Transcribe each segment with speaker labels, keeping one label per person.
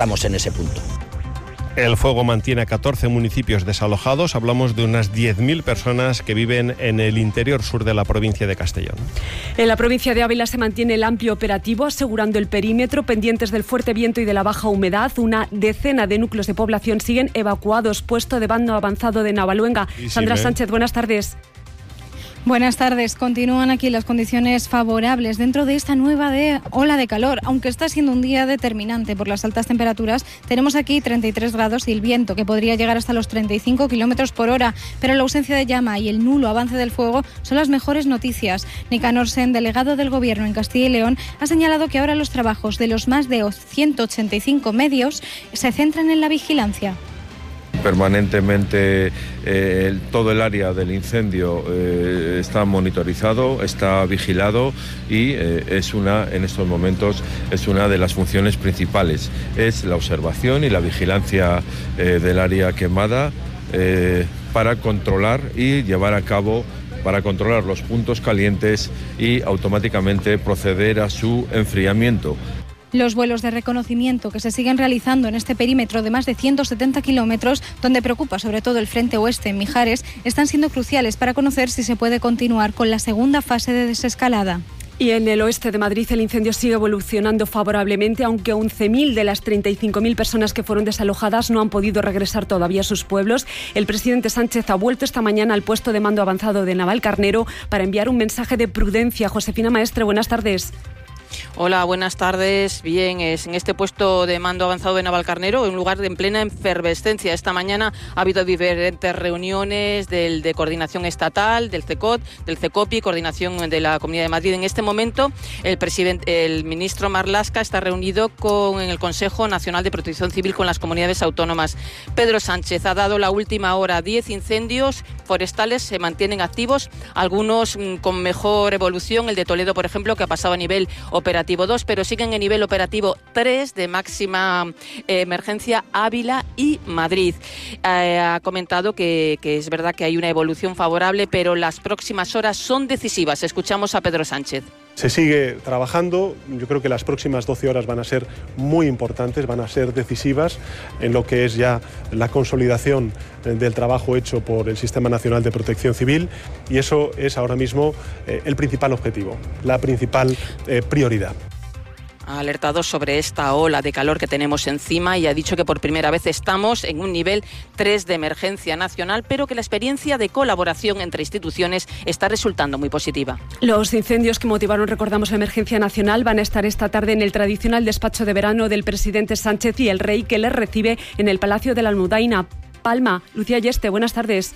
Speaker 1: Estamos en ese punto.
Speaker 2: El fuego mantiene a 14 municipios desalojados. Hablamos de unas 10.000 personas que viven en el interior sur de la provincia de Castellón.
Speaker 3: En la provincia de Ávila se mantiene el amplio operativo, asegurando el perímetro, pendientes del fuerte viento y de la baja humedad. Una decena de núcleos de población siguen evacuados. Puesto de mando avanzado de Navaluenga. Sandra Sánchez, buenas tardes.
Speaker 4: Buenas tardes. Continúan aquí las condiciones favorables dentro de esta nueva ola de calor. Aunque está siendo un día determinante por las altas temperaturas, tenemos aquí 33 grados y el viento que podría llegar hasta los 35 kilómetros por hora. Pero la ausencia de llama y el nulo avance del fuego son las mejores noticias. Nicanor Sen, delegado del Gobierno en Castilla y León, ha señalado que ahora los trabajos de los más de 185 medios se centran en la vigilancia.
Speaker 5: Permanentemente todo el área del incendio está monitorizado, está vigilado y en estos momentos es una de las funciones principales. Es la observación y la vigilancia del área quemada para controlar y llevar a cabo, para controlar los puntos calientes y automáticamente proceder a su enfriamiento.
Speaker 4: Los vuelos de reconocimiento que se siguen realizando en este perímetro de más de 170 kilómetros, donde preocupa sobre todo el frente oeste en Mijares, están siendo cruciales para conocer si se puede continuar con la segunda fase de desescalada.
Speaker 3: Y en el oeste de Madrid el incendio sigue evolucionando favorablemente, aunque 11.000 de las 35.000 personas que fueron desalojadas no han podido regresar todavía a sus pueblos. El presidente Sánchez ha vuelto esta mañana al puesto de mando avanzado de Navalcarnero para enviar un mensaje de prudencia. Josefina Maestre, buenas tardes.
Speaker 6: Hola, buenas tardes. Bien, es en este puesto de mando avanzado de Navalcarnero, un lugar en plena efervescencia. Esta mañana ha habido diferentes reuniones de coordinación estatal, del CECOT, del CECOPI, coordinación de la Comunidad de Madrid. En este momento, el ministro Marlaska está reunido en el Consejo Nacional de Protección Civil con las comunidades autónomas. Pedro Sánchez ha dado la última hora. 10 incendios forestales se mantienen activos, algunos con mejor evolución. El de Toledo, por ejemplo, que ha pasado a nivel operativo 2, pero siguen en nivel operativo 3 de máxima emergencia Ávila y Madrid. Ha comentado que es verdad que hay una evolución favorable, pero las próximas horas son decisivas. Escuchamos a Pedro Sánchez.
Speaker 7: Se sigue trabajando, yo creo que las próximas 12 horas van a ser muy importantes, van a ser decisivas en lo que es ya la consolidación del trabajo hecho por el Sistema Nacional de Protección Civil, y eso es ahora mismo el principal objetivo, la principal prioridad.
Speaker 6: Ha alertado sobre esta ola de calor que tenemos encima y ha dicho que por primera vez estamos en un nivel 3 de emergencia nacional, pero que la experiencia de colaboración entre instituciones está resultando muy positiva.
Speaker 3: Los incendios que motivaron, recordamos, la emergencia nacional van a estar esta tarde en el tradicional despacho de verano del presidente Sánchez y el rey, que les recibe en el Palacio de la Almudaina, Palma. Lucía Yeste, buenas tardes.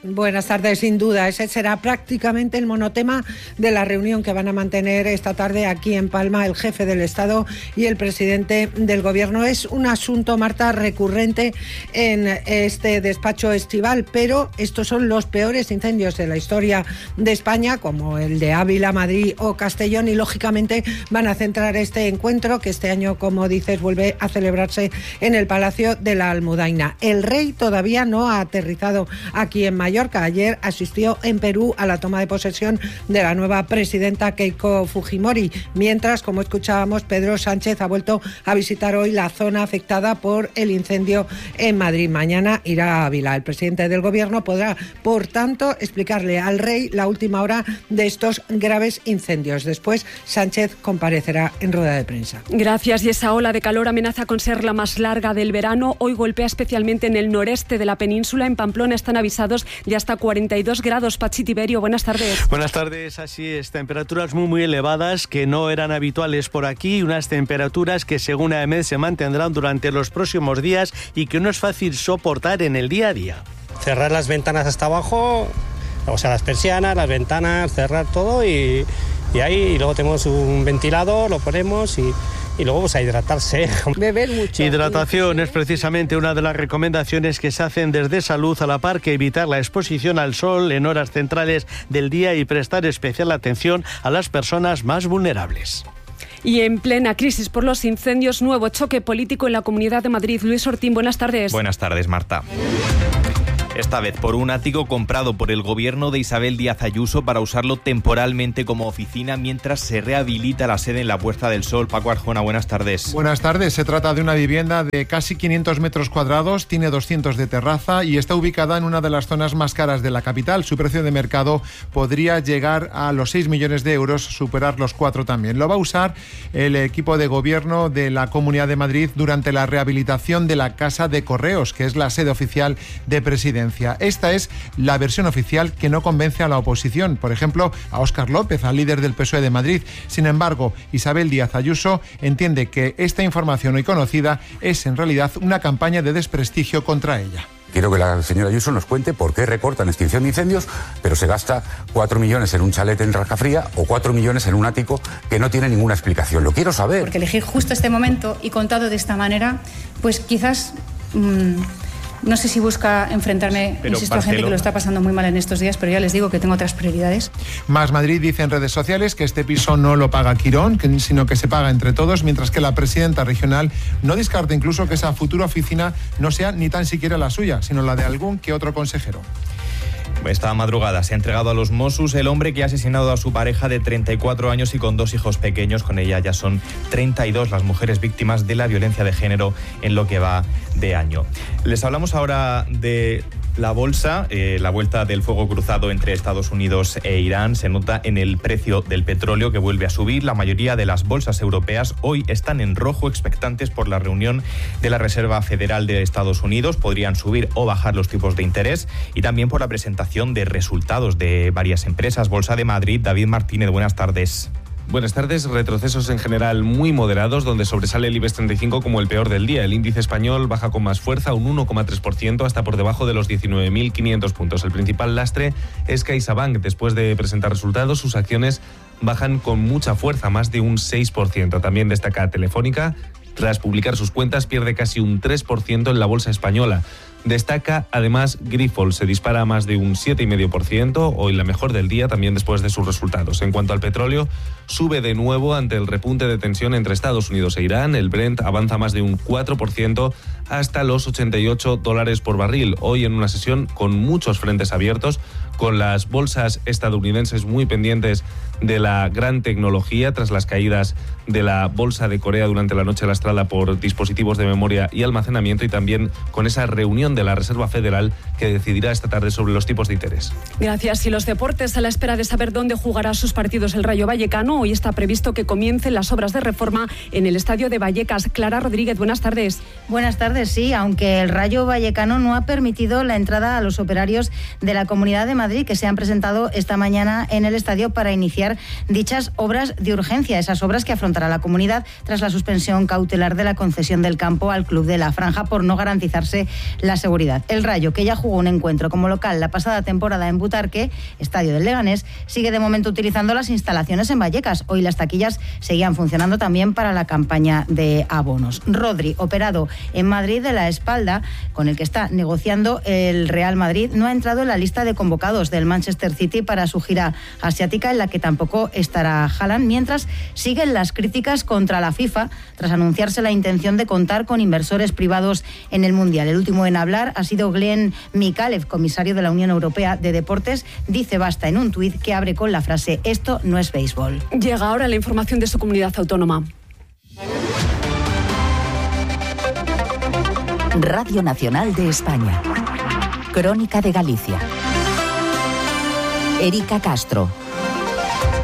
Speaker 8: Buenas tardes, sin duda. Ese será prácticamente el monotema de la reunión que van a mantener esta tarde aquí en Palma el jefe del Estado y el presidente del Gobierno. Es un asunto, Marta, recurrente en este despacho estival, pero estos son los peores incendios de la historia de España, como el de Ávila, Madrid o Castellón, y lógicamente van a centrar este encuentro, que este año, como dices, vuelve a celebrarse en el Palacio de la Almudaina. El rey todavía no ha aterrizado aquí en Mallorca. Ayer asistió en Perú a la toma de posesión de la nueva presidenta Keiko Fujimori, mientras, como escuchábamos, Pedro Sánchez ha vuelto a visitar hoy la zona afectada por el incendio en Madrid. Mañana irá a Ávila. El presidente del Gobierno podrá, por tanto, explicarle al rey la última hora de estos graves incendios. Después, Sánchez comparecerá en rueda de prensa.
Speaker 3: Gracias. Y esa ola de calor amenaza con ser la más larga del verano. Hoy golpea especialmente en el noreste de la península. En Pamplona están avisados de hasta 42 grados. Pachi Tiberio, buenas tardes.
Speaker 9: Buenas tardes, así es, temperaturas muy elevadas que no eran habituales por aquí, unas temperaturas que según AEMET se mantendrán durante los próximos días y que no es fácil soportar en el día a día.
Speaker 10: Cerrar las ventanas hasta abajo, o sea, las persianas, las ventanas, cerrar todo y luego tenemos un ventilador, lo ponemos y luego pues a hidratarse.
Speaker 8: Beber mucho.
Speaker 9: Hidratación es precisamente una de las recomendaciones que se hacen desde Salud, a la par que evitar la exposición al sol en horas centrales del día y prestar especial atención a las personas más vulnerables.
Speaker 3: Y en plena crisis por los incendios, nuevo choque político en la Comunidad de Madrid. Luis Ortín, buenas tardes.
Speaker 11: Buenas tardes, Marta.
Speaker 1: Esta vez por un ático comprado por el gobierno de Isabel Díaz Ayuso para usarlo temporalmente como oficina mientras se rehabilita la sede en la Puerta del Sol. Paco Arjona, buenas tardes.
Speaker 11: Buenas tardes. Se trata de una vivienda de casi 500 metros cuadrados, tiene 200 de terraza y está ubicada en una de las zonas más caras de la capital. Su precio de mercado podría llegar a los 6 millones de euros, superar los 4 también. Lo va a usar el equipo de gobierno de la Comunidad de Madrid durante la rehabilitación de la Casa de Correos, que es la sede oficial de Presidencia. Esta es la versión oficial que no convence a la oposición, por ejemplo, a Óscar López, al líder del PSOE de Madrid. Sin embargo, Isabel Díaz Ayuso entiende que esta información hoy conocida es en realidad una campaña de desprestigio contra ella.
Speaker 12: Quiero que la señora Ayuso nos cuente por qué recorta en extinción de incendios, pero se gasta 4 millones en un chalet en Rajafría o 4 millones en un ático que no tiene ninguna explicación. Lo quiero saber.
Speaker 13: Porque elegir justo este momento y contado de esta manera, pues quizás... no sé si busca enfrentarme, insisto, a gente que lo está pasando muy mal en estos días, pero ya les digo que tengo otras prioridades.
Speaker 11: Más Madrid dice en redes sociales que este piso no lo paga Quirón, sino que se paga entre todos, mientras que la presidenta regional no descarta incluso que esa futura oficina no sea ni tan siquiera la suya, sino la de algún que otro consejero.
Speaker 1: Esta madrugada se ha entregado a los Mossos el hombre que ha asesinado a su pareja de 34 años y con 2 hijos pequeños. Con ella ya son 32 las mujeres víctimas de la violencia de género en lo que va de año. Les hablamos ahora de la bolsa. La vuelta del fuego cruzado entre Estados Unidos e Irán se nota en el precio del petróleo, que vuelve a subir. La mayoría de las bolsas europeas hoy están en rojo, expectantes por la reunión de la Reserva Federal de Estados Unidos. Podrían subir o bajar los tipos de interés, y también por la presentación de resultados de varias empresas. Bolsa de Madrid, David Martínez, buenas tardes.
Speaker 14: Buenas tardes. Retrocesos en general muy moderados, donde sobresale el IBEX 35 como el peor del día. El índice español baja con más fuerza, un 1,3%, hasta por debajo de los 19.500 puntos. El principal lastre es CaixaBank. Después de presentar resultados, sus acciones bajan con mucha fuerza, más de un 6%. También destaca Telefónica. Tras publicar sus cuentas, pierde casi un 3% en la bolsa española. Destaca además Grifols, se dispara a más de un 7,5%, hoy la mejor del día, también después de sus resultados. En cuanto al petróleo, sube de nuevo ante el repunte de tensión entre Estados Unidos e Irán. El Brent avanza más de un 4% hasta los $88 por barril. Hoy en una sesión con muchos frentes abiertos, con las bolsas estadounidenses muy pendientes de la gran tecnología tras las caídas de la bolsa de Corea durante la noche lastrada por dispositivos de memoria y almacenamiento, y también con esa reunión de la Reserva Federal que decidirá esta tarde sobre los tipos de interés.
Speaker 3: Gracias. Y los deportes, a la espera de saber dónde jugará sus partidos el Rayo Vallecano, hoy está previsto que comiencen las obras de reforma en el estadio de Vallecas. Clara Rodríguez, buenas tardes.
Speaker 15: Buenas tardes, sí, aunque el Rayo Vallecano no ha permitido la entrada a los operarios de la Comunidad de Madrid, que se han presentado esta mañana en el estadio para iniciar dichas obras de urgencia, esas obras que afrontará la comunidad tras la suspensión cautelar de la concesión del campo al Club de la Franja por no garantizarse la seguridad. El Rayo, que ya jugó un encuentro como local la pasada temporada en Butarque, estadio del Leganés, sigue de momento utilizando las instalaciones en Vallecas. Hoy las taquillas seguían funcionando también para la campaña de abonos. Rodri, operado en Madrid de la espalda, con el que está negociando el Real Madrid, no ha entrado en la lista de convocados del Manchester City para su gira asiática, en la que tampoco estará Haaland, mientras siguen las críticas contra la FIFA tras anunciarse la intención de contar con inversores privados en el Mundial. El último en hablar ha sido Glenn Mikalev, comisario de la Unión Europea de Deportes. Dice basta en un tuit que abre con la frase: esto no es béisbol.
Speaker 3: Llega ahora la información de su comunidad autónoma.
Speaker 16: Radio Nacional de España. Crónica de Galicia. Erika Castro.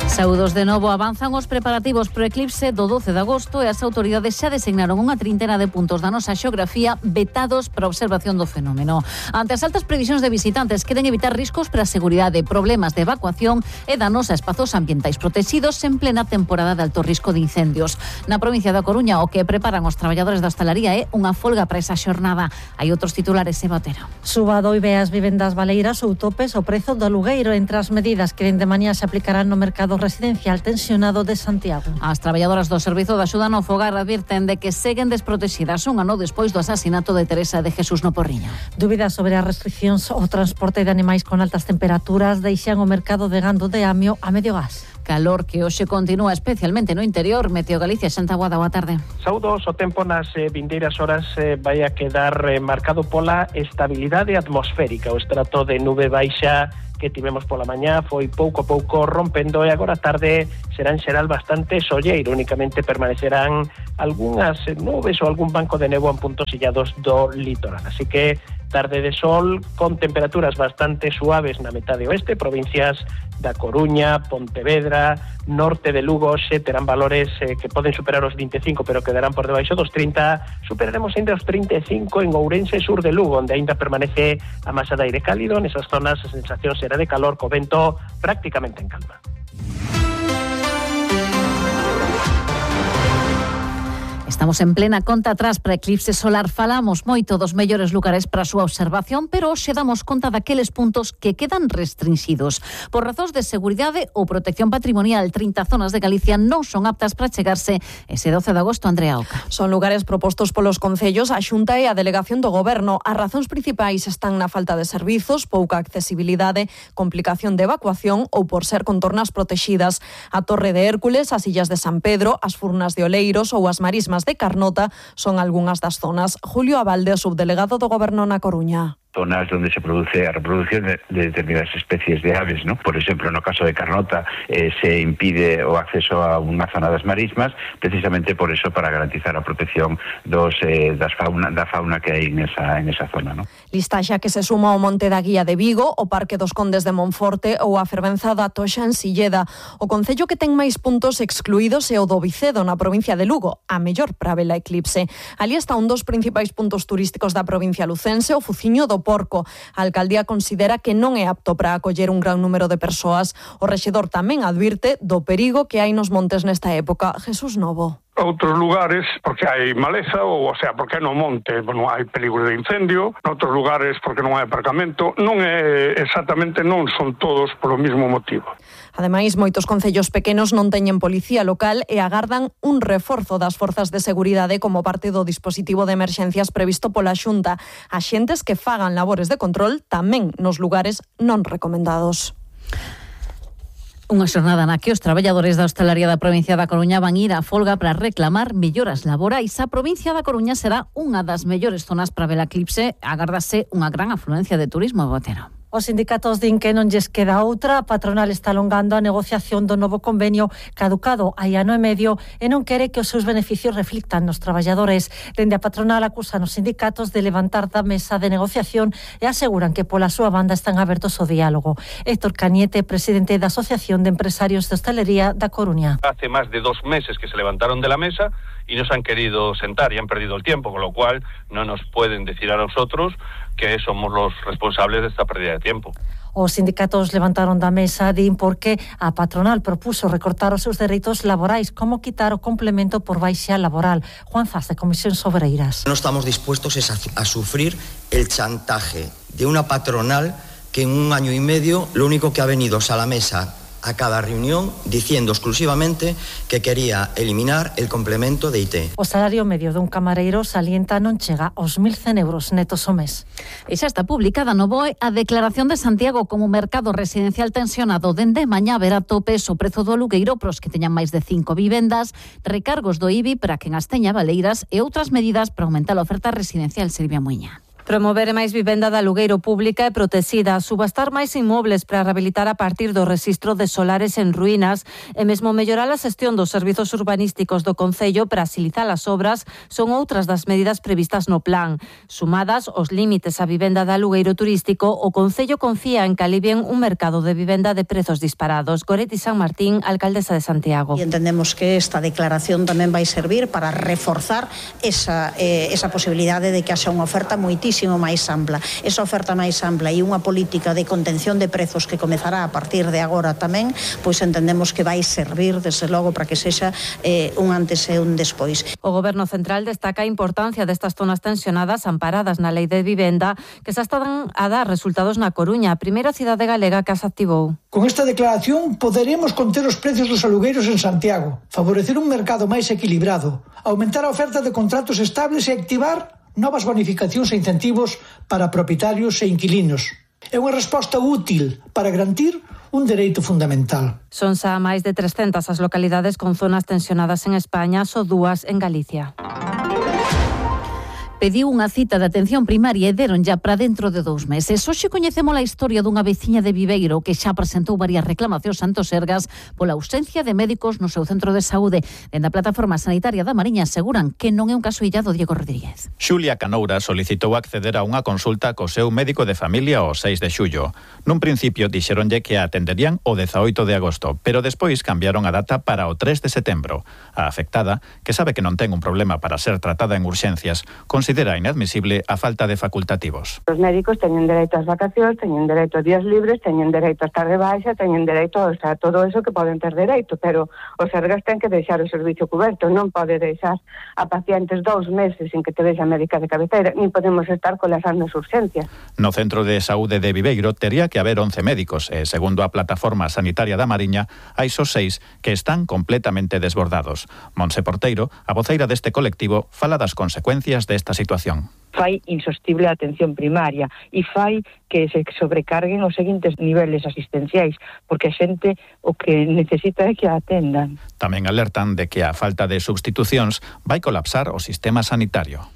Speaker 17: Saúdos de novo. Avanzan os preparativos pro eclipse do 12 de agosto e as autoridades xa designaron unha trintena de puntos da nosa xeografía vetados para a observación do fenómeno. Ante as altas previsións de visitantes, queren evitar riscos para a seguridade, problemas de evacuación e danos a espazos ambientais protegidos en plena temporada de alto risco de incendios. Na provincia da Coruña, o que preparan os traballadores da hostalaría é unha folga para esa xornada. Hai outros titulares, Eva Otero.
Speaker 18: Suba doive as vivendas baleiras ou topes o prezo do alugueiro entre as medidas que dende mañá se aplicarán no mercado residencial tensionado de Santiago.
Speaker 17: As traballadoras do Servizo de Axuda no Fogar advirten de que seguen desprotegidas un ano despois do asasinato de Teresa de Jesús no Porriño.
Speaker 18: Dúbidas sobre as restriccións ao transporte de animais con altas temperaturas deixan o mercado de gando de Amio a medio gas.
Speaker 17: calor que hoxe continúa especialmente no interior. Meteo Galicia, Xanta Guada, boa tarde.
Speaker 19: Saúdos, o tempo nas vindeiras horas vai a quedar marcado pola estabilidade atmosférica. O estrato de nube baixa que tivemos pola mañá foi pouco a pouco rompendo e agora a tarde será en xeral bastante solleiro. Únicamente permanecerán algunhas nubes ou algún banco de néboa en puntos illados do litoral. Así que tarde de sol con temperaturas bastante suaves na metade oeste, provincias da Coruña, Pontevedra, norte de Lugo, xe terán valores que poden superar os 25, pero quedarán por debaixo dos 30. Superaremos ainda os 35 en Ourense, sur de Lugo, onde ainda permanece a masa de aire cálido. Nesas zonas a sensación será de calor, co vento prácticamente en calma.
Speaker 17: Estamos en plena conta atrás para eclipse solar. Falamos moito dos mellores lugares para a súa observación, pero hoxe damos conta daqueles puntos que quedan restringidos. Por razóns de seguridade ou protección patrimonial, 30 zonas de Galicia non son aptas para chegarse ese 12 de agosto. Andrea Oca.
Speaker 20: Son lugares propostos polos concellos, a Xunta e a Delegación do Goberno. As razóns principais están na falta de servizos, pouca accesibilidade, complicación de evacuación ou por ser contornas protexidas. A Torre de Hércules, as Illas de San Pedro, as Furnas de Oleiros ou as Marismas de Carnota son algunhas das zonas. Julio Abalde, subdelegado do Goberno na Coruña.
Speaker 21: Zonas donde se produce a reproducción de determinadas especies de aves, ¿no? Por exemplo, no caso de Carnota se impide o acceso a unha zona das marismas, precisamente por eso, para garantizar a protección da fauna que hai en esa zona, ¿no?
Speaker 20: Listaxa que se suma ao Monte da Guía de Vigo, o Parque dos Condes de Monforte ou a fervenza da Toxa en Silleda. O concello que ten máis puntos excluídos é o do Vicedo, na provincia de Lugo, a mellor para ver a eclipse. Ali está un dos principais puntos turísticos da provincia lucense, o Fuciño do Porco. A alcaldía considera que non é apto para acoller un gran número de persoas. O rexedor tamén advirte do perigo que hai nos montes nesta época. Jesús Novo.
Speaker 22: Outros lugares porque hai maleza, ou sea, porque no monte non hai peligro de incendio, noutros lugares porque non hai aparcamento, non é exactamente, non son todos polo mismo motivo.
Speaker 20: Ademais, moitos concellos pequenos non teñen policía local e agardan un reforzo das forzas de seguridade como parte do dispositivo de emerxencias previsto pola Xunta. Axentes que fagan labores de control tamén nos lugares non recomendados.
Speaker 17: Unha xornada na que os traballadores da hostalaría da provincia da Coruña van ir a folga para reclamar melloras laborais. A provincia da Coruña será unha das mellores zonas para ver a eclipse. Agárdase unha gran afluencia de turismo, Botero.
Speaker 18: Os sindicatos din que non lles queda outra. A patronal está alongando a negociación do novo convenio caducado hai ano e medio e non quere que os seus beneficios reflictan nos traballadores. Dende a patronal acusan os sindicatos de levantar da mesa de negociación e aseguran que pola súa banda están abertos ao diálogo. Héctor Cañete, presidente da Asociación de Empresarios de Hostelería da Coruña.
Speaker 23: Hace más de 2 meses que se levantaron de la mesa y no se han querido sentar y han perdido el tiempo, con lo cual no nos pueden decir a nosotros que somos los responsables de esta pérdida de tiempo.
Speaker 18: Os sindicatos levantaron da mesa, din porque a patronal propuso recortar os seus dereitos laborais, como quitar o complemento por baixa laboral. Juan Zas, de Comisións Obreiras.
Speaker 24: No estamos dispuestos a sufrir el chantaje de una patronal que en 1 año y medio lo único que ha venido es a la mesa a cada reunión diciendo exclusivamente que quería eliminar el complemento de IT.
Speaker 18: O salario medio dun camareiro salienta non chega aos 1.100 euros netos ao mes.
Speaker 17: E xa está publicada no BOE a declaración de Santiago como mercado residencial tensionado. Dende mañá verá topes o prezo do alugueiro pros que teñan máis de 5 vivendas, recargos do IBI para quen as teña baleiras e outras medidas para aumentar a oferta residencial. Silvia Muiña.
Speaker 25: Promover máis vivenda de alugueiro pública e protexida, subastar máis inmobles para rehabilitar a partir do rexistro de solares en ruínas e mesmo mellorar a xestión dos servizos urbanísticos do concello para axilizar as obras son outras das medidas previstas no plan. Sumadas os límites á vivenda de alugueiro turístico, o concello confía en que alivien un mercado de vivenda de prezos disparados. Goretti San Martín, alcaldesa de Santiago.
Speaker 26: E entendemos que esta declaración tamén vai servir para reforzar esa posibilidade de que haxa unha oferta moitísimo máis ampla. Esa oferta máis ampla e unha política de contención de prezos que comezará a partir de agora tamén, pois entendemos que vai servir, desde logo, para que sexa un antes e un despois.
Speaker 25: O Goberno Central destaca a importancia destas zonas tensionadas amparadas na Lei de Vivenda, que xa están a dar resultados na Coruña, a primeira cidade galega que as activou.
Speaker 27: Con esta declaración poderemos conter os precios dos alugueiros en Santiago, favorecer un mercado máis equilibrado, aumentar a oferta de contratos estables e activar novas bonificacións e incentivos para propietarios e inquilinos. É unha resposta útil para garantir un dereito fundamental.
Speaker 25: Son xa máis de 300 as localidades con zonas tensionadas en España, só 2 en Galicia. Pediu unha cita de atención primaria e deron ya para dentro de 2 meses. Hoxe coñecemos a historia dunha veciña de Viveiro que xa presentou varias reclamacións ante o Sergas pola ausencia de médicos no seu centro de saúde. Dende a Plataforma Sanitaria da Mariña aseguran que non é un caso illado. Diego Rodríguez.
Speaker 2: Xulia Canoura solicitou acceder a unha consulta co seu médico de familia o 6 de xullo. Nun principio dixeronlle que a atenderían o 18 de agosto, pero despois cambiaron a data para o 3 de setembro. A afectada, que sabe que non ten un problema para ser tratada en urxencias, considera inadmisible a falta de facultativos.
Speaker 4: Os médicos teñen dereito ás vacacións, teñen dereito a días libres, teñen dereito a estar de baixa, teñen dereito a todo eso que poden ter dereito, pero os Sergas ten que deixar o servicio coberto, non pode deixar a pacientes 2 meses sin que te vexa médica de cabeceira, nin podemos estar colapsando as urxencias.
Speaker 2: No Centro de Saúde de Viveiro tería que haber 11 médicos e, segundo a Plataforma Sanitaria da Mariña, hai só 6 que están completamente desbordados. Monse Porteiro, a voceira deste colectivo, fala das consecuencias desta situación.
Speaker 5: Fai insostible a atención primaria e fai que se sobrecarguen os seguintes niveles asistenciais, porque a xente o que necesita é que a atendan.
Speaker 2: Tamén alertan de que a falta de substitucións vai colapsar o sistema sanitario.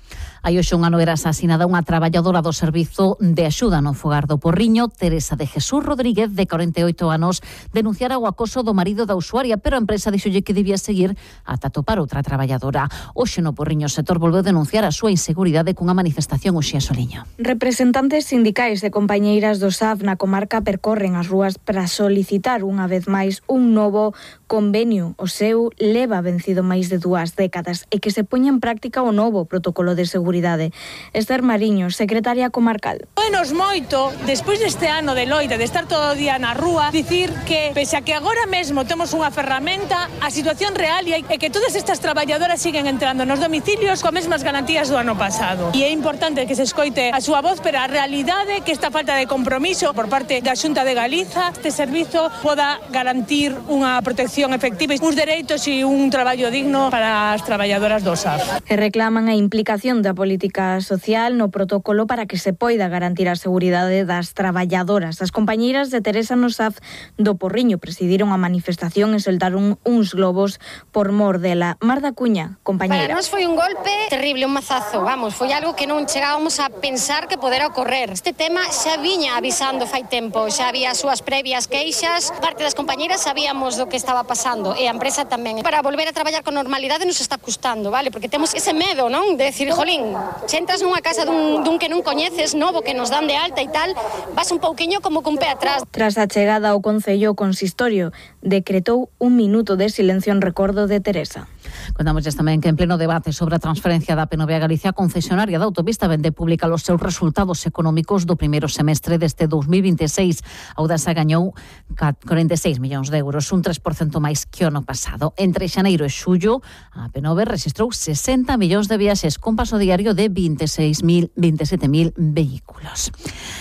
Speaker 17: Hai hoxe un ano era asasinada unha traballadora do Servizo de Axuda no Fogar do Porriño. Teresa de Jesús Rodríguez, de 48 anos, denunciara o acoso do marido da usuaria, pero a empresa dixolle que debía seguir ata topar outra traballadora. Hoxe no Porriño o sector volveu denunciar a súa inseguridade cunha manifestación hoxe a Soliño.
Speaker 6: Representantes sindicais e compañeiras do SAF na comarca percorren as rúas para solicitar unha vez máis un novo convenio. O seu leva vencido máis de 2 décadas e que se poña en práctica o novo protocolo de seguridade. Esther Mariño, secretaria comarcal.
Speaker 7: Nos moito, despois deste ano de loita, de estar todo o día na rúa, dicir que, pese a que agora mesmo temos unha ferramenta, a situación real é que todas estas traballadoras siguen entrando nos domicilios coas mesmas garantías do ano pasado. E é importante que se escoite a súa voz, pero a realidade que esta falta de compromiso por parte da Xunta de Galiza, este servizo poda garantir unha protección efectiva, uns dereitos e un traballo digno para as traballadoras do SAF.
Speaker 6: E reclaman a implicación da política social no protocolo para que se poida garantir a seguridade das traballadoras. As compañeiras de Teresa no SAF do Porriño presidiron a manifestación e soltaron uns globos por mor dela. Marda Cuña, compañeira.
Speaker 8: Para nós foi un golpe terrible, un mazazo, foi algo que non chegábamos a pensar que podera ocorrer. Este tema xa viña avisando fai tempo, xa había as súas previas queixas, parte das compañeiras sabíamos do que estaba pasando e a empresa tamén. Para volver a traballar con normalidade nos está custando, vale? Porque temos ese medo, non? De decir, jolín, se entras nunha casa dun que non coñeces, novo, que nos dan de alta e tal, vas un pouquiño como cun pé atrás.
Speaker 6: Tras a chegada ao Concello, o Consistorio decretou 1 minuto de silencio en recordo de Teresa.
Speaker 17: Contamos tamén que en pleno debate sobre a transferencia da PNV a Galicia, a concesionaria da autopista vende pública os seus resultados económicos do primeiro semestre deste 2026. A Audasa gañou 46 millóns de euros, un 3% máis que o ano pasado. Entre xaneiro e xullo, a PNV registrou 60 millóns de viaxes con paso diario de 27.000 vehículos.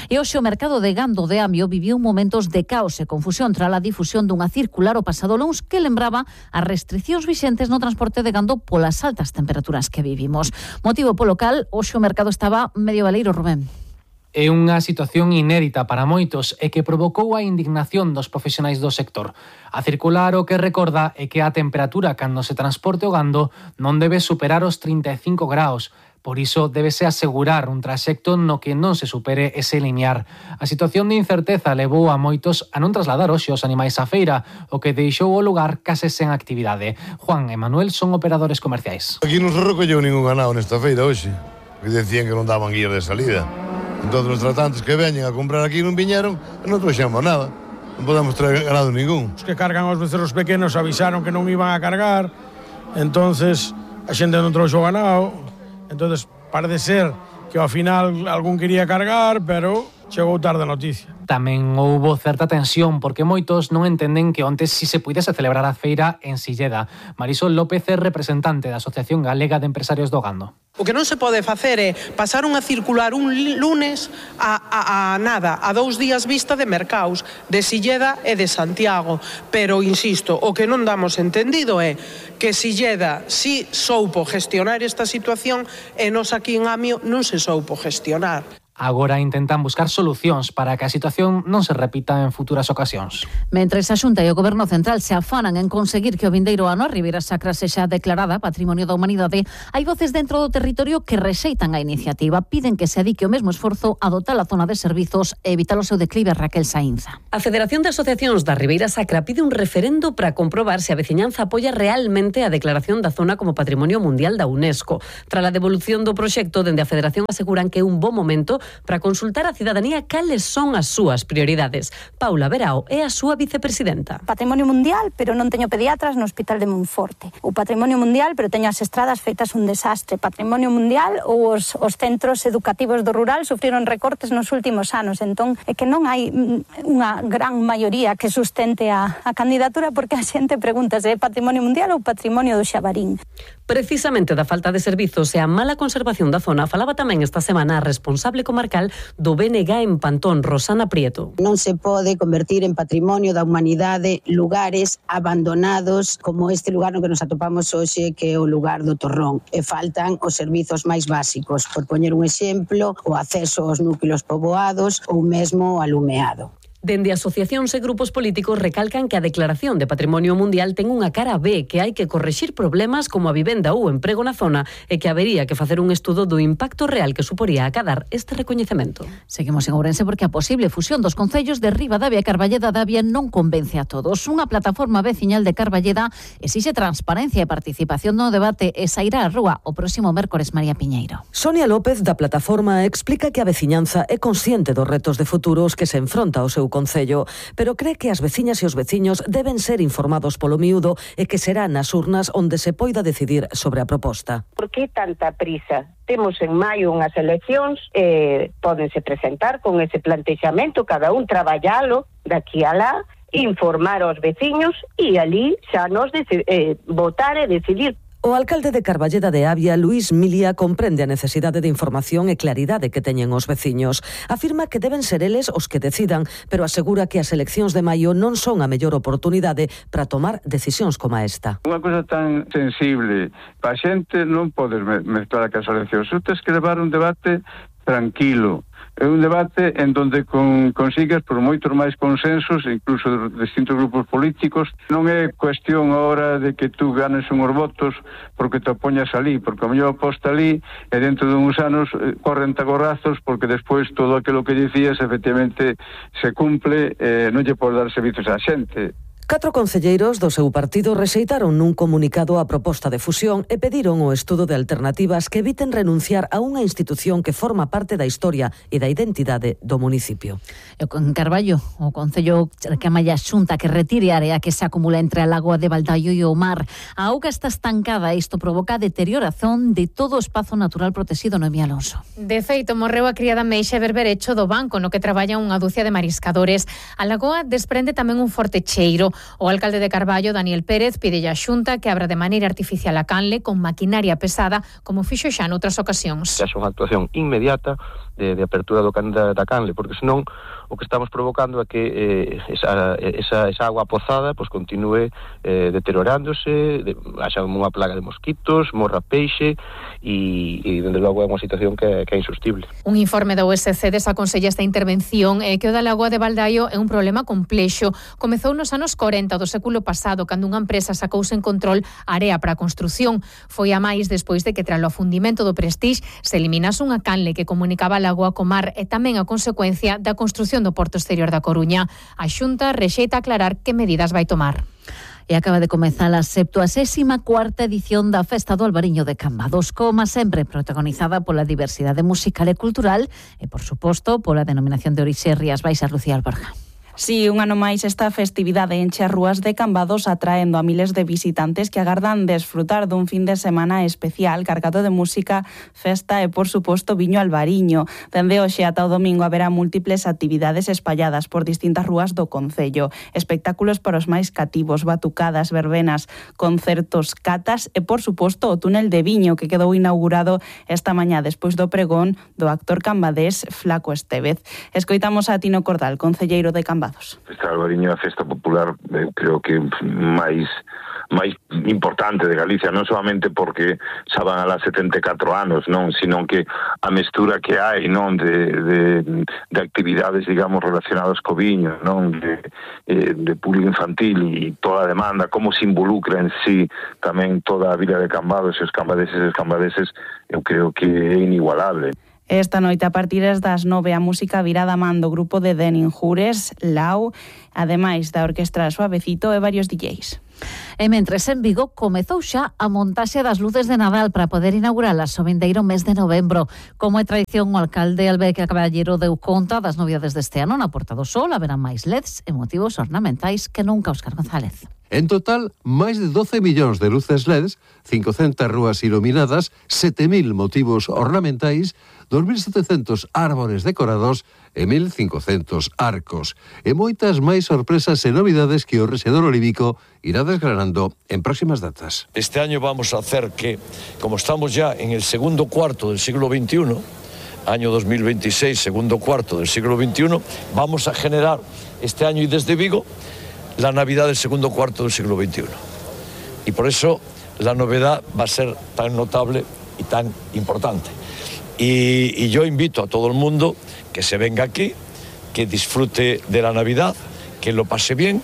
Speaker 17: E hoxe o mercado de gando de Amio viviu momentos de caos e confusión tras a difusión dunha circular o pasado luns que lembraba as restriccións vixentes no transporte de gando polas altas temperaturas que vivimos. Motivo polo cal, hoxe o mercado estaba medio baleiro, Rubén.
Speaker 10: É unha situación inédita para moitos e que provocou a indignación dos profesionais do sector. A circular o que recorda é que a temperatura cando se transporte o gando non debe superar os 35 graus. Por iso débese asegurar un traxecto no que non se supere ese linear. A situación de incerteza levou a moitos a non trasladar hoxe os animais á feira, o que deixou o lugar case sen actividade. Juan e Manuel son operadores comerciais.
Speaker 28: Aquí non se recolleu ningún ganado nesta feira hoxe, que decían que non daban guía de salida. Entón, os tratantes que veñen a comprar aquí non viñeron e non trouxemos nada. Non podemos traer ganado ningún.
Speaker 29: Os que cargan os becerros pequenos avisaron que non iban a cargar, entonces a xente non trouxo ganado, entonces parece ser que ao final algún quería cargar, pero chegou tarde a noticia.
Speaker 10: Tamén houbo certa tensión porque moitos non entenden que onte si se puidese celebrar a feira en Silleda. Marisol López é representante da Asociación Galega de Empresarios do Gando.
Speaker 30: O que non se pode facer é pasar unha circular un lunes a nada, a 2 días vista de mercados, de Silleda e de Santiago. Pero, insisto, o que non damos entendido é que Silleda si soupo gestionar esta situación e nos aquí en Amio non se soupo gestionar.
Speaker 10: Agora intentan buscar solucións para que a situación non se repita en futuras ocasións.
Speaker 17: Mentres a Xunta e o Goberno Central se afanan en conseguir que o vindeiro ano a Ribeira Sacra sexa declarada Patrimonio da Humanidade, hai voces dentro do territorio que rexeitan a iniciativa. Piden que se adique o mesmo esforzo a dotar a zona de servizos e evitar o seu declive. Raquel Saínza.
Speaker 1: A Federación de Asociacións da Ribeira Sacra pide un referendo para comprobar se a veciñanza apoia realmente a declaración da zona como Patrimonio Mundial da UNESCO. Tras a devolución do proxecto, dende a Federación aseguran que é un bo momento para consultar a cidadanía cales son as súas prioridades. Paula Verao é a súa vicepresidenta.
Speaker 3: Patrimonio Mundial, pero non teño pediatras no Hospital de Monforte. O Patrimonio Mundial, pero teño as estradas feitas un desastre. Patrimonio Mundial ou os centros educativos do rural sufriron recortes nos últimos anos. Entón, é que non hai unha gran maioría que sustente a candidatura porque a xente pregunta se é Patrimonio Mundial ou Patrimonio do Xabarín.
Speaker 1: Precisamente da falta de servizos e a mala conservación da zona falaba tamén esta semana a responsable comarcal do BNG en Pantón, Rosana Prieto.
Speaker 9: Non se pode convertir en Patrimonio da Humanidade lugares abandonados como este lugar no que nos atopamos hoxe, que é o lugar do Torrón. E faltan os servizos máis básicos, por poñer un exemplo, o acceso aos núcleos poboados ou mesmo o alumeado.
Speaker 1: Dende asociacións e grupos políticos recalcan que a declaración de Patrimonio Mundial ten unha cara B, que hai que correxir problemas como a vivenda ou o emprego na zona e que habería que facer un estudo do impacto real que suporía acadar este recoñecemento.
Speaker 17: Seguimos en Ourense porque a posible fusión dos concellos de Ribadavia e Carballeda de Avia non convence a todos. Unha plataforma veciñal de Carballeda exixe transparencia e participación no debate e sairá á rúa o próximo mércores. María Piñeiro.
Speaker 1: Sonia López da plataforma explica que a veciñanza é consciente dos retos de futuros que se enfronta ao seu concello, pero cree que as veciñas e os veciños deben ser informados polo miúdo e que será nas urnas onde se poida decidir sobre a proposta.
Speaker 11: Por que tanta prisa? Temos en maio unhas eleccións, pódense presentar con ese plantexamento, cada un traballalo daqui a lá, informar aos veciños e ali xa nos votar e decidir.
Speaker 1: O alcalde de Carballeda de Avia, Luís Milia, comprende a necesidade de información e claridade que teñen os veciños. Afirma que deben ser eles os que decidan, pero asegura que as eleccións de maio non son a mellor oportunidade para tomar decisións como esta.
Speaker 12: Unha cosa tan sensible, para a xente non podes mezclar as eleccións. Tens que levar un debate tranquilo. É un debate en donde consigues por moitos máis consensos, incluso de distintos grupos políticos. Non é cuestión agora de que tú ganes unhos votos porque te opoñas ali, porque a mellor oposta ali e dentro de uns anos corren tagorrazos porque despois todo aquilo que dicías efectivamente se cumple, non lle podes dar servizos á xente.
Speaker 1: 4 concelleiros do seu partido rexeitaron nun comunicado a proposta de fusión e pediron o estudo de alternativas que eviten renunciar a unha institución que forma parte da historia e da identidade do municipio.
Speaker 17: En Carballo, o Concello reclama a Xunta que retire a área que se acumula entre a lagoa de Baldaio e o mar. A auga está estancada e isto provoca a deterioración de todo o espazo natural protegido. Noemí Alonso.
Speaker 13: De feito, morreu a criada Meixa Berberecho do banco no que traballa unha dúcia de mariscadores. A lagoa desprende tamén un forte cheiro. O alcalde de Carballo, Daniel Pérez, pide a Xunta que abra de maneira artificial a canle con maquinaria pesada, como fixo xa noutras ocasións.
Speaker 14: Que haxa unha actuación inmediata de apertura da canle, porque senón o que estamos provocando é que esa agua pozada pues, continúe deteriorándose, haxa unha plaga de mosquitos, morra peixe e dende logo é unha situación que é insustible.
Speaker 13: Un informe da USC desaconsella esta intervención que o da lagoa de Baldaio é un problema complexo. Comezou nos anos 40 do século pasado, cando unha empresa sacouse en control area para a construción. Foi a máis despois de que tras o afundimento do Prestige se eliminase unha canle que comunicaba a lagoa co mar e tamén a consecuencia da construción do Porto Exterior da Coruña. A Xunta rexeita aclarar que medidas vai tomar.
Speaker 17: E acaba de comezar a 74ª edición da Festa do Albariño de Cambados, como sempre protagonizada pola diversidade musical e cultural e, por suposto, pola denominación de orixe Rías Baixas. Lucía Alborja.
Speaker 15: Si, un ano máis esta festividade enche as rúas de Cambados atraendo a miles de visitantes que agardan desfrutar dun fin de semana especial cargado de música, festa e, por suposto, viño albariño. Dende hoxe ata o domingo haberá múltiples actividades espalladas por distintas rúas do concello. Espectáculos para os máis cativos, batucadas, verbenas, concertos, catas e, por suposto, o túnel de viño que quedou inaugurado esta mañá despois do pregón do actor cambadés Flaco Estévez. Escoitamos a Tino Cordal, concelleiro de Cambados. Cambados.
Speaker 16: Festa de Albariño é a festa popular, creo que máis importante de Galicia, non solamente porque xa van alá 74 anos, non, sino que a mestura que hai, non, de actividades, digamos, relacionadas co viño, non, de público infantil e toda a demanda, como se involucra en sí tamén toda a vila de Cambados e os cambadeses, eu creo que é inigualable.
Speaker 15: Esta noite a partir das 9 a música virá da man do grupo de Deninjures, Lau, ademais da orquestra Suavecito e varios DJs.
Speaker 17: E mentres en Vigo comezou xa a montaxe das luces de Nadal para poder inauguralas o vindeiro mes de novembro. Como é tradición, o alcalde Alberto Caballero deu conta das novidades deste ano na Porta do Sol. Haberá máis LEDs e motivos ornamentais que nunca. Óscar González.
Speaker 18: En total, máis de 12 millóns de luces LEDs, 500 rúas iluminadas, 7.000 motivos ornamentais, 2.700 árbores decorados e 1.500 arcos. E moitas máis sorpresas e novidades que o rexedor olívico irá desgranando en próximas datas.
Speaker 19: Este año vamos a hacer que, como estamos ya en el segundo cuarto del siglo XXI, año 2026, segundo cuarto del siglo XXI, vamos a generar este año y desde Vigo la Navidad del segundo cuarto del siglo XXI. Y por eso la novedad va a ser tan notable y tan importante. Y yo invito a todo el mundo que se venga aquí, que disfrute de la Navidad, que lo pase bien.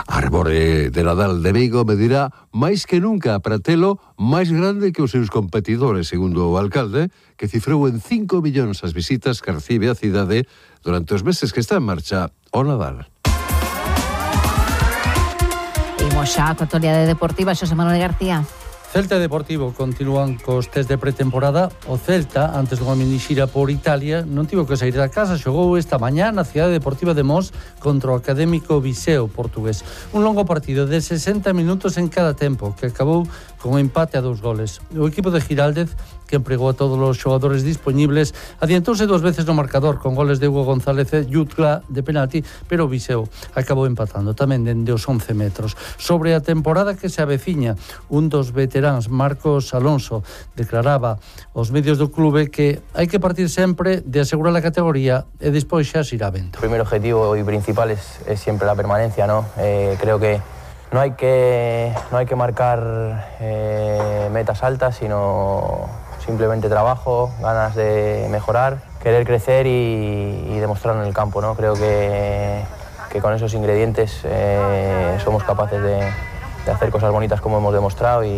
Speaker 18: Árbore de Nadal de Vigo medirá máis que nunca a pratelo máis grande que os seus competidores, segundo o alcalde, que cifrou en 5 millóns as visitas que recibe a cidade durante os meses que está en marcha o Nadal.
Speaker 17: Imos xa a actualidade deportiva, Xosé Manuel García.
Speaker 20: Celta e Deportivo continúan cos test de pretemporada. O Celta, antes dunha minixira por Italia, non tivo que sair da casa, xogou esta mañá na cidade deportiva de Mos contra o Académico Viseo portugués. Un longo partido de 60 minutos en cada tempo, que acabou con empate a 2 goles. O equipo de Giraldez, que empregou a todos os xogadores disponibles, adiantouse 2 veces no marcador con goles de Hugo González e Jutla de penalti, pero o Viseo acabou empatando tamén dende os 11 metros. Sobre a temporada que se aveciña, un dos veteráns, Marcos Alonso, declaraba aos medios do clube que hai que partir sempre de asegurar a categoría e despois xa se irá vendo.
Speaker 21: El primer objetivo y principal es siempre la permanencia, ¿no? Creo que no hay que marcar metas altas, sino simplemente trabajo, ganas de mejorar, querer crecer y demostrarlo en el campo, ¿no? Creo que con esos ingredientes somos capaces de hacer cosas bonitas como hemos demostrado y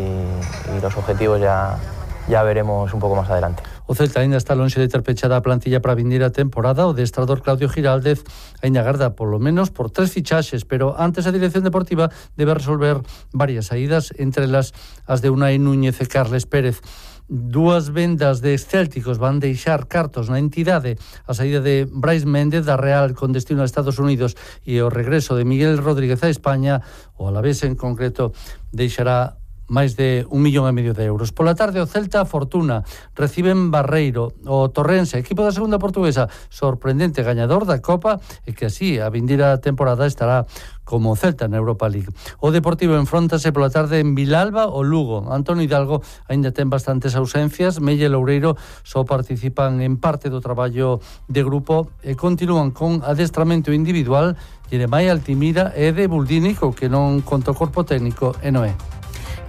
Speaker 21: los objetivos ya veremos un poco más adelante.
Speaker 20: O Celta ainda está lonxe de ter pechada a plantilla para a vindeira temporada. O adestrador Claudio Giraldez ainda agarda polo menos por 3 fichaxes, pero antes a dirección deportiva debe resolver varias saídas, entre elas as de Unai Núñez e Carles Pérez. 2 vendas de excélticos van deixar cartos na entidade, a saída de Brais Méndez da Real con destino a Estados Unidos e o regreso de Miguel Rodríguez a España. O Alavés en concreto deixará máis de 1,5 millón de euros. Pola tarde o Celta Fortuna reciben Barreiro. O Torrense, equipo da segunda portuguesa, sorprendente gañador da Copa e que así a vindeira temporada estará como Celta na Europa League. O Deportivo enfróntase pola tarde en Vilalba o Lugo. Antonio Hidalgo aínda ten bastantes ausencias. Melle Loureiro só participan en parte do traballo de grupo e continúan con adestramento individual Jeremai Altimira e de Buldínico, que non conta o corpo técnico e non é.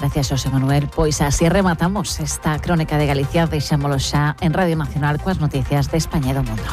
Speaker 17: Gracias, Xosé Manuel. Pois así rematamos esta crónica de Galicia. Deixámolo xa en Radio Nacional coas noticias de España e do mundo.